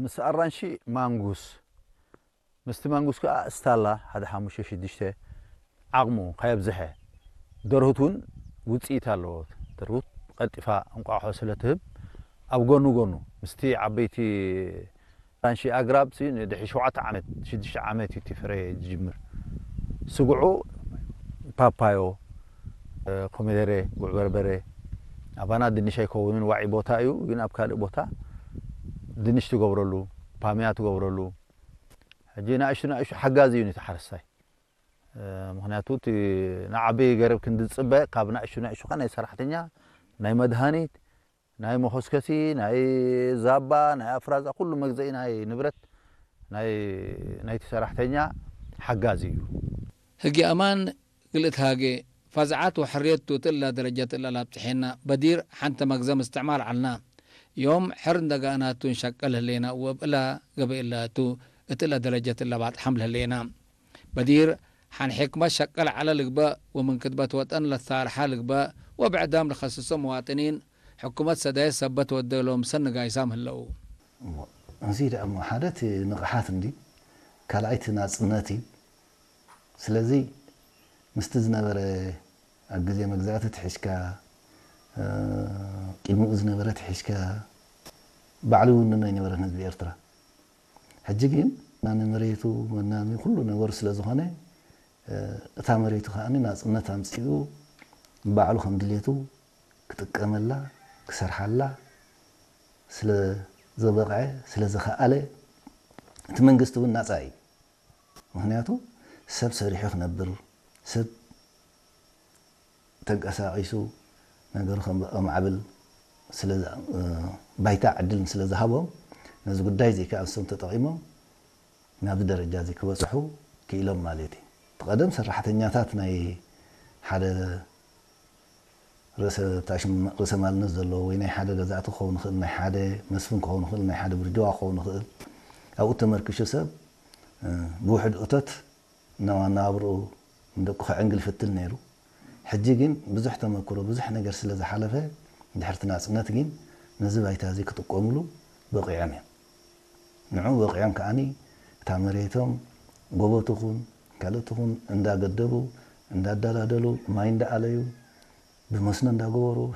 ምስ ኣራንሺ ማንጉስ፣ ምስቲ ማንጉስ ከዓ እስታላ ሓደ ሓሙሽተ ሽዱሽተ ዓቕሙ ከየብዝሐ። ደርሁት እውን ውፅኢት ኣለዎ። ደርሁት ቀልጢፋ እንቋቑሖ ስለ ትህብ ኣብ ጎኑ ጎኑ ምስቲ ዓበይቲ ኣራንሺ ኣግራብ ሲ ንድሕሪ ሸውዓተ ዓመት ሽዱሽተ ዓመት እዩ እቲ ፍረ ዝጅምር። ስጉዑ ፓፓዮ፣ ኮሚደረ፣ ጉዕ በርበረ፣ ኣባና ድንሽ ኣይከውንን፣ ዋዒ ቦታ እዩ፣ ግን ኣብ ካልእ ቦታ ድንሽ ትገብረሉ፣ ፓምያ ትገብረሉ። ሕጂ ንኣሽቱ ንኣሽቱ ሓጋዚ እዩ ነቲ ሓረስታይ። ምክንያቱ እቲ ንዓቢ ገረብ ክንዲ ዝፅበ ካብ ንኣሽቱ ንኣሽቱ ናይ ሰራሕተኛ፣ ናይ መድሃኒት፣ ናይ መኾስከሲ፣ ናይ ዛባ፣ ናይ ኣፍራዛ፣ ኩሉ መግዘኢ ናይ ንብረት ናይ ናይቲ ሰራሕተኛ ሓጋዚ እዩ። ህጊ ኣማን ግልእት ሃገ ፋዝዓት ወሕርየቱ ትእላ ደረጃ ትእላ ላብጽሐና በዲር ሓንተ መግዘም እስትዕማር ዓልና ዮም ሕር እንደጋእናቱ እንሸቀል ህሌና ወብእላ ገበእላቱ እትእላ ደረጃ ትእላ ባጥሓም ለህሌና በዲር ሓን ሕክመት ሸቀል ዓለ ልግበእ ወምን ክትበት ወጠን ለሳርሓ ልግበእ ወብዕዳም ልኸስሶ መዋጥኒን ሕኩመት ሰዳየ ሰበት ወደሎም ሰንጋይሳም ህለው። እዚ ደኣ እሞ ሓደ እቲ ንቕሓት እንዲ ካልኣይቲ ናጽነት እዩ። ስለዚ ምስቲ ዝነበረ ኣብ ግዜ መግዛእቲ ትሒዝካ ቅድሚኡ ዝነበረ ትሒዝካ ባዕሉ ይውንኖ ኣይነበረን ህዝቢ ኤርትራ። ሕጂ ግን ናኒ መሬቱ መናሚ ኩሉ ነገሩ ስለ ዝኾነ እታ መሬቱ ከኣ ናጽነት ኣምጺኡ ባዕሉ ከም ድሌቱ ክጥቀመላ ክሰርሓላ ስለ ዘበቕዐ ስለ ዝኸኣለ እቲ መንግስቲ እውን ናጻ እዩ። ምክንያቱ ሰብ ሰሪሑ ክነብር ሰብ ተንቀሳቒሱ ነገሩ ከማዕብል ባይታ ዕድልን ስለ ዝሃቦም ነዚ ጉዳይ እዚ ከኣ ንሶም ተጠቒሞም ናብዚ ደረጃ እዚ ክበፅሑ ክኢሎም ማለት እዩ። እቲ ቀደም ሰራሕተኛታት ናይ ሓደ ርእሰ ታሽም ርእሰ ማልነት ዘለዎ ወይ ናይ ሓደ ገዛእቲ ክኸውን ይኽእል፣ ናይ ሓደ መስፍን ክኸውን ይኽእል፣ ናይ ሓደ ብርጅዋ ክኸውን ይኽእል። ኣብኡ ተመርኪሹ ሰብ ብውሕድ እቶት እናዋናብርኡ ንደቁ ከዕንግል ይፍትን ነይሩ። ሕጂ ግን ብዙሕ ተመክሮ ብዙሕ ነገር ስለ ዝሓለፈ ድሕርቲ ናፅነት ግን ነዚ ባይታ እዚ ክጥቀሙሉ በቂዖም እዮም። ንዑ በቂዖም ከዓኒ እታ መሬቶም ጎቦ ትኹን ካልእ ትኹን እንዳገደቡ እንዳዳላደሉ ማይ እንዳኣለዩ ብመስኖ እንዳገበሩ